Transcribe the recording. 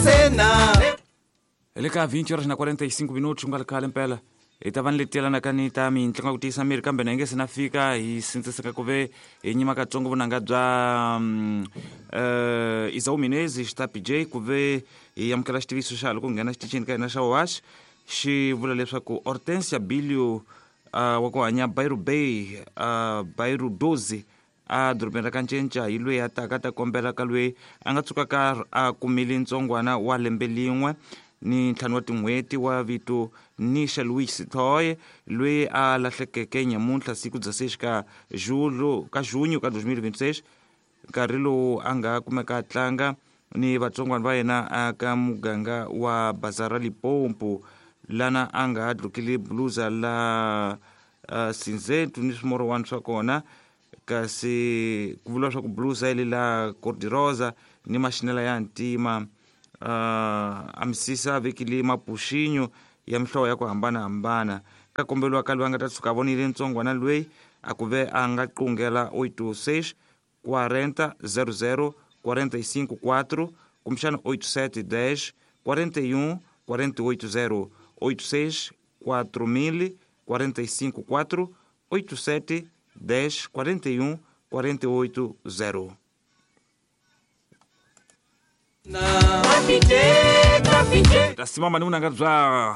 Cena. Hi le ka 20 horas na 45 minutos ku nga ri khale mpela hi ta va ni leti yelanaka ni ta mintlangu ya ku tiyisa miri, kambe na yi nge se na fika hi sindziseka ku ve hi nyima katsongo vunanga bya Isau Menezes Xitapi J ku ve hi amukela xitiviso xa loko nghena xitichini ka hina xa Wash xi vula leswaku Hortensia Bilio wa ku hanya Bairro Bay Bairro 12 a dorobeni ra Kancenca hi loyi a taka a ta kombela ka loyi a nga tshukaka a kumile ntsongwana wa lembe lin'we ni ntlhanu wa tin'hweti wa vito Nisha Louis Thoye loyi a lahlekeke nyamuntlha siku bya 6 ka julho ka junho ka 2026 nkarhi lowu a nga kumeka a tlanga ni vatsongwana va yena aka muganga wa Bazara Limpopo lana a nga dlukile bluza la cinzento ni swimorowani swa kona, kasi ku vuriwa swa ku bluza yi la cordirosa ni maxinela ya ntima, a misisa a vekile mapuxinyo ya mihlovo ya ku hambanahambana. Ka kombeliwa ka loyi a nga ta tshuka a vonile ntsongwana loyi a ku ve a nga qungela 86 40 00 45 4 kumbexana 87 10 41 48 0 86 4000 45 4 87 10 41 48 0. Capite, capite. Ta simama ni vunanga bya